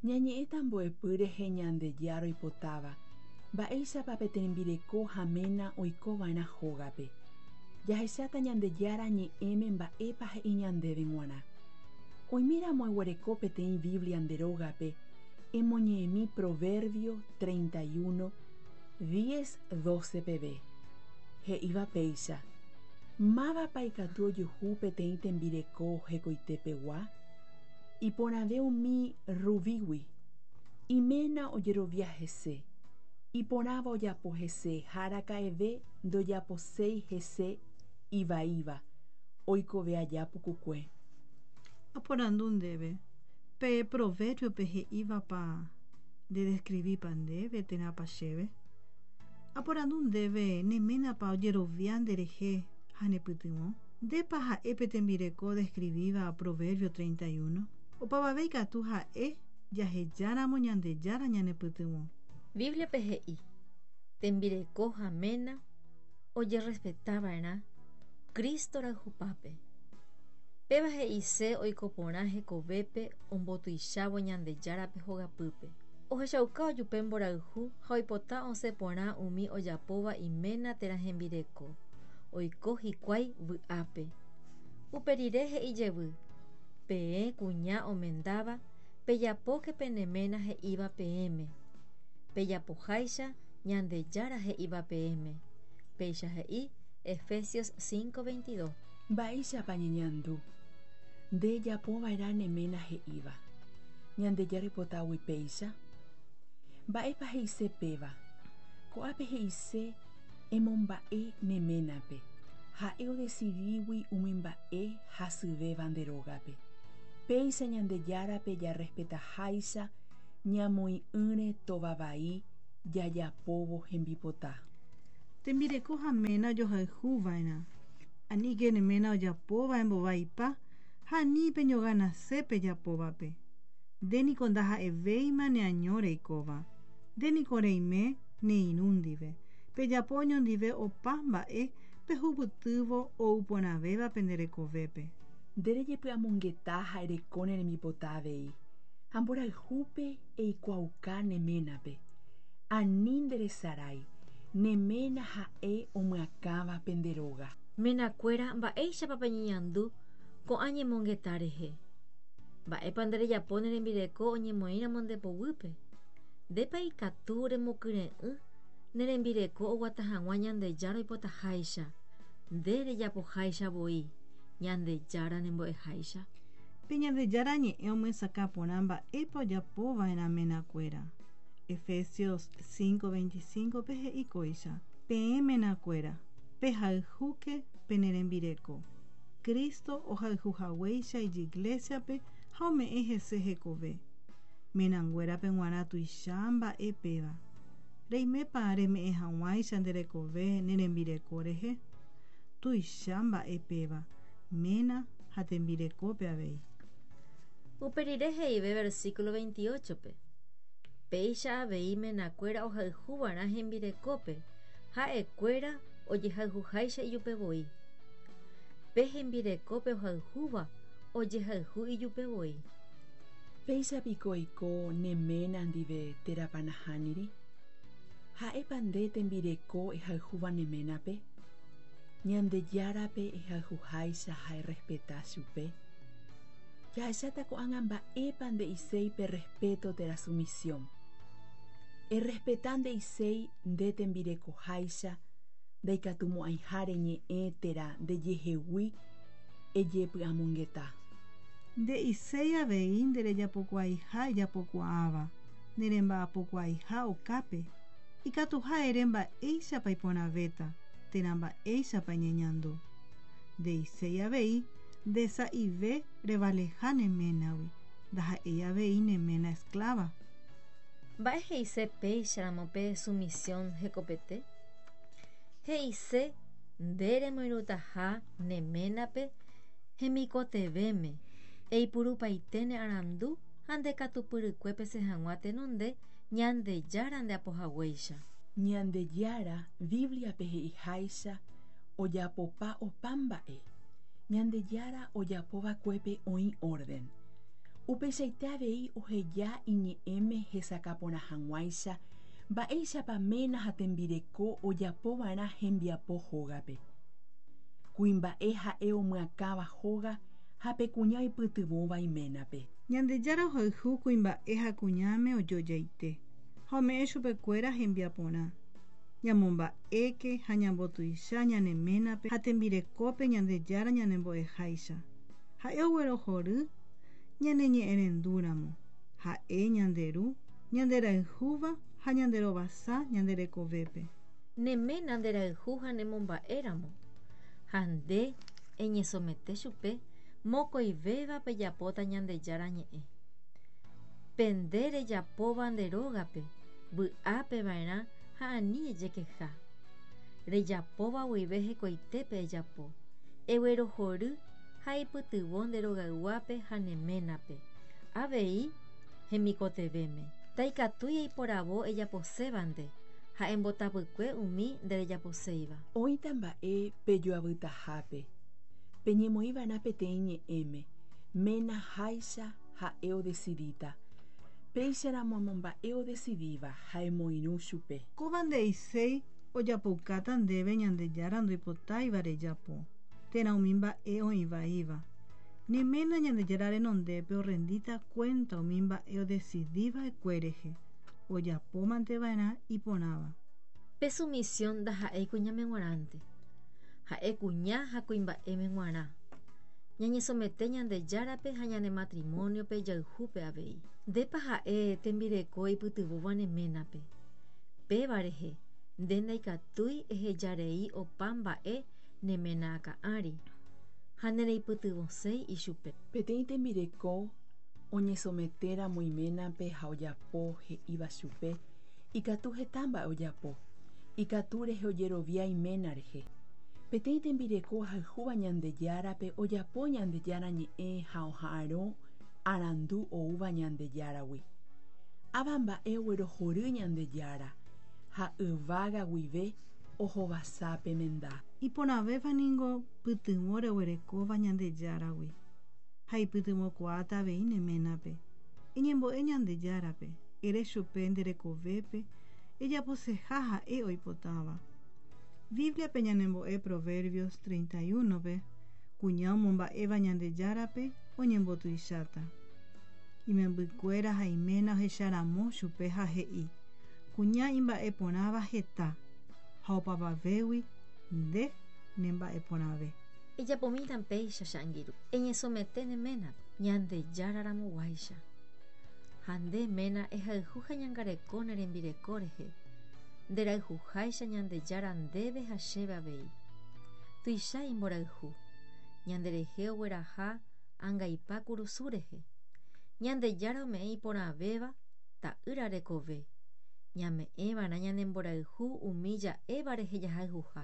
Ñañe'ẽta mbo'epy rehe Ñandejára oipotáva, mba'éichapa pe tembireko ha ména oikova'erã hógape. Jahecháta Ñandejára Ñe'ẽme mba'épa he'i ñandéve g̃uarã. Oiméramo eguereko peteĩ Biblia nde rógape, emoñe'ẽmi Proverbio 31, 10, 12 peve, he'íva péicha, Mávapa ikatu ojuhu peteĩ tembireko hekoitepegua? Iporãve umi rubígui. Iména ojerovia hese, iporãva ojapo hese ha araka'eve ndojaposéi hese ivaíva, oikove aja pukukue. Aporandu ndéve, pe proverbio-pe he'ívapa ndedescrivípa ndéve térãpa chéve? Aporandu ndéve ne ménapa ojerovia nderehe ha nepytyvõ? Ndépa ha'e pe tembireko odescrivíva Proverbio 31? Opavave ikatu ha'e jahejáramo Ñandejára ñanepytyvõ. Bíbliape he'i, Tembireko ha ména ojerrespeta va'erã Cristo rayhupápe. Péva he'ise oiko porã hekovépe ombotuichávo Ñandejárape hogapýpe. Ohechauka ojupe mborayhu ha oipota osẽ porã umi ojapóva iména térã hembireko. Oiko hikuái vy'ápe. Upe rire he'i jevy, Peẽ kuña omendáva, pejapóke pene ména he'íva peẽme. Pejapoháicha Ñandejára he'íva peẽme. Péicha he'i Efesios 5:22. Mba'éichapa ñeñandu nde ejapova'erã ne ména he'íva, Ñandejára oipotágui péicha? Mba'épa he'ise péva? Ko'ápe he'ise Emomba'e ne ménape, ha'e odesidígui umi mba'e hasyvéva nde rógape. Péicha Ñandejárape jarrespetaháicha ñamoĩ'ỹre tova vai jajapóvo hembipota. Tembireko ha ména ojohayhu va'erã. Aníke ne ména ojapóva embovaipa ha ani peñoganase pejapóvape. Nde niko ndaha'evéima neaño reikóva. Nde niko reime ne irũ ndive. Pejapo oñondive opa mba'e pehupytývo ou porãvéva pende rekovépe. Nde rejepy'amongeta ha ereko ne rembipota avei, ha mborayhúpe eikuaauka ne ménape. Ani nderesarái, ne ména ha'e omyakãva pende róga. Menakuéra, mba'éichapa peñeñandu ko'ã ñemongeta rehe? Mba'épa nde rejapo ne rembireko oñemoĩramo nde poguýpe? Ndépa ikatu remokyre'ỹ ne rembireko oguata hag̃ua Ñandejára oipotaháicha, nde rejapoháicha voi, Ñandejára nembo'eháicha? Pe Ñandejára Ñe'ẽ omyesakã porã mba'épa ojapova'erã menakuéra. Efesios 5:25-pe he'i kóicha, Peẽ menakuéra, pehayhúke pene rembireko, Cristo ohayhuhaguéicha ijiglésiape ha ome'ẽ hese hekove. Menanguérape g̃uarã tuicha mba'e péva. Reimépa reme'ẽ hag̃uáicha nde rekove ne rembireko rehe? Tuicha mba'e péva, ména ha tembirekópe avei. Upe rire he'ive versículo 28-pe, Péicha avei menakuéra ohayhuva'erã hembirekópe, ha'ekuéra ojehayhuháicha ijupe voi. Pe hembirekópe ohayhúva ojehayhu ijupe voi. Péicha piko oiko ne ména ndive térãpa nahániri? Ha'épa nde tembireko ehayhúva ne ménape? Ñandejárape ehayhuháicha ha errespeta chupe? Jahecháta ko'ág̃a mba'épa nde'iséi pe rrespeto térã sumisión. Errespeta nde'iséi nde tembirekoháicha ndaikatumo'ãiha reñe'ẽ térã ndejehegui ejepy'amongeta. Nde'iséi avei nderejapokuaaiha ejapokuaáva, neremba'apokuaaiha okápe, ikatuha ere mba'éichapa iporãvéta térã mba'éichapa eñeñandu. Nde'iséi avei nde sa'ive revaleha ne ménagui, ndaha'éi avei ne ména eskláva. Mba'e he'ise péicharamo pe sumisión hekopete? He'ise nde remoirũtaha ne ménape hemikotevẽme, eipurupaite ne arandu ha nde katupyrykue pesẽ hag̃ua tenonde Ñandejára nde apohaguéicha. Ñandejára, Bíbliape he'iháicha, ojapopa opa mba'e. Ñandejára ojapova'ekuépe oĩ órden. Upeichaite avei oheja iñe'ẽme hesakã porã hag̃uáicha mba'éichapa ména ha tembireko ojapova'erã hembiapo hógape. Kuimba'e ha'e omyakãva hóga ha pe kuña oipytyvõva iménape. Ñandejára ohayhu kuimba'e ha kuñáme ojojaite ha ome'ẽ chupekuéra hembiaporã. Ñamomba'éke ha ñambotuicha ñane ménape ha tembirekópe Ñandejára ñanembo'eháicha. Ha'e oguerohory ñaneñe'ẽrendúramo. Ha'e ñande ru, ñanderayhúva ha ñanderovasa ñande rekovépe. Ne ména nderayhu ha nemomba'éramo ha nde eñesomete chupe mokõivéva pejapóta Ñandejára ñe'ẽ. Pe nde rejapóva nde rógape, vy'ápe va'erã ha ani ejekeha. Rejapóva guive hekoitépe ejapo, eguerohory ha eipytyvõ nde rogayguápe ha ne ménape, avei hemikotevẽme. Ndaikatúi eiporavo ejaposéva nde ha embotapykue umi nderejaposéiva. Oĩta mba'e pejoavytahápe, peñemoĩva'erã peteĩ ñe'ẽme, ména háicha ha'e odesidíta. Péicharamo emomba'e odesidíva ha emoirũ chupe. Kóva nde'iséi ojapoukáta ndéve Ñandejára ndoipotáiva rejapo, térã umi mba'e oĩ vaíva. Ne ména Ñandejára renondépe orrendíta kuénta umi mba'e odesidi va'ekue rehe, ojapómante va'erã iporãva. Pe sumisión ndaha'éi kuñáme g̃uarãnte, ha'e kuña ha kuimba'éme g̃uarã. Ñañesomete Ñandejárape ha ñane matrimóniope jayhúpe avei. Ndépa ha'e tembireko eipytyvõva ne ménape? Péva rehe, nde ndaikatúi ehejarei opa mba'e ne ména akã ári, ha nereipytyvõséi ichupe. Peteĩ tembireko oñesometéramo iménape ha ojapo he'íva chupe, ikatu heta mba'e ojapo, ikatu rehe ojerovia iména rehe. Peteĩ tembireko ohayhúva Ñandejárape ojapo Ñandejára ñe'ẽ ha oha'arõ arandu oúva Ñandejáragui. Ava mba'e oguerohory Ñandejára, ha yvága guive ohovasa pe menda. Iporãvéva ningo pytyvõ reguerekóva Ñandejáragui, ha ipytyvõkuaáta avei ne ménape. Eñembo'e Ñandejárape, ere chupe nde rekovépe ejaposeha ha'e oipotáva. Bíbliape ñanembo'e Proverbios 31-pe, Kuña omomba'éva Ñandejárape oñembotuicháta. Imembykuéra ha iména ohecharamo chupe ha he'i, Kuña imba'eporãva heta, ha opavavégui nde nemba'eporãve. Ejapomíta péicha che angirũ, eñesomete ne ménape, Ñandejára ramoguáicha. Ha nde ména ehayhu ha eñangareko ne rembireko rehe, nderayhuháicha Ñandejára ndéve ha chéve avei. Tuicha imborayhu, ñanderehe ogueraha angaipa kurusu rehe. Ñandejára ome'ẽ iporãvéva Ta'ýra rekove, ñame'ẽva'erã ñane mborayhu umi ja'éva rehe jahayhuha.